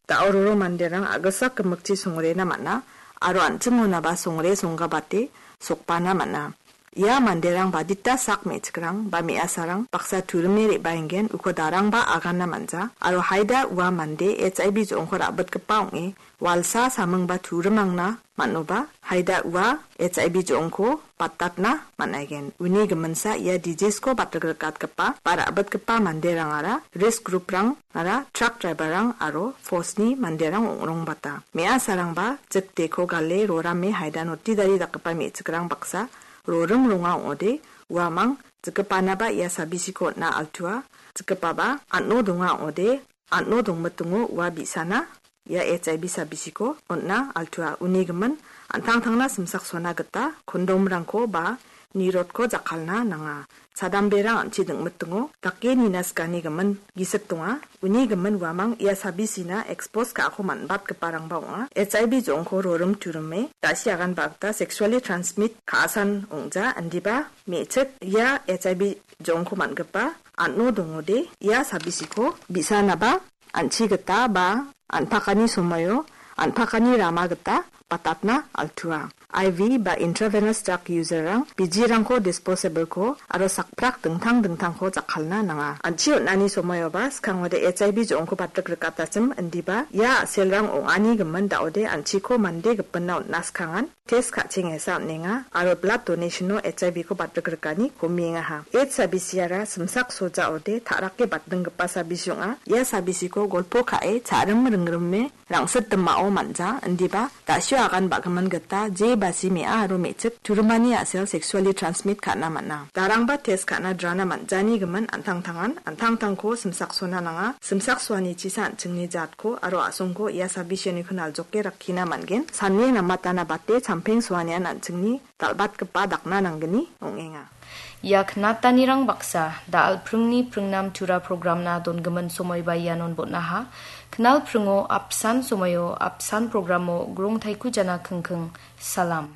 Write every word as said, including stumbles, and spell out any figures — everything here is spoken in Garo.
Da·o roro manderang a·gisak gimikchi songrena man·a aro an·chingonaba songre songgabate sokbana man·a. Ia manderang badita sak me·chikrang ba me·asarang baksa turime re·baengen uko darangba agana man·ja aro haida ua mande H I V jo·ongko ra·bitgipa ong·e walsa samingba turimangna man·oba haida ua H I V jo·ongko batatna man·aigen. Uni giminsa ia disease-ko batrikatgipa ba ra·bitgipa manderangara risk group-rangara truck driver-rang aro force-ni manderang ong·rongbata. Me·asarangba jikdeko gale rorame haida notidari dakgipa me·chikrang baksa rorim ronga ong·ode uamang jikgipanaba ia sabisiko on·a altua, jikgipaba an·o donga ong·ode an·o dongmitingo ua bi·sana ia H I V sabisiko on·a altua. Uni gimin an·tangtangna simsaksona gita kondomrangko ba nirotko jakkalna nanga. Chadamberang an·chi dingmitingo dake nina sikani gimin gisik donga. Uni gimin uamang ia sabisina expose ka·ako man·batgiparangba ong·a. H I V jo·ongko rorim turime da·si aganba gita sexually transmit ka·asan ong·ja, indiba me·chik ia H I V jo·ongko man·gipa an·o dongode ia sabisiko bi·sanaba an·chi gita ba an·pakani somoio an·pakani rama gita batatna altua. I V ba intravenous drug user-rang bijirangko disposable-ko aro sakprak dingtang dingtangko jakkalna nanga. An·chi on·ani somoioba skangode H I V jo·ongko batrik rikatachim indiba ia a·selrang ong·ani gimin da·ode an·chiko mande gipinna on·na skangan test ka·chengesa on·enga aro blood donation-o H I V-ko batrik rikani komiengaha. H I V C-ara simsak sojaode ta·rake batdinggipa sabisi ong·a. Ia sabisiko golpo ka·e cha·rim ringrime rangsit dimao man·ja, indiba da·sio agan ba·gimin gita je basi me·a aro me·chik turimani a·sel sexually transmit ka·na man·a. Darangba test ka·na drana man·jani gimin an·tangtangan an·tangtangko simsaksona nanga. Simsaksoanichisa an·chingni jatko aro a·songko ia sabisioni knaljoke rakkina man·gen. Sane namatana bate champeng soanian an·chingni dal·batgipa dakna nanggni ong·enga. Ia knatanirang baksa da·al pringni pringnam tura programna dongimin somoiba ianon bon·aha. Knal pringo apsan somoio apsan programo grong taiku jana kingking. Salam.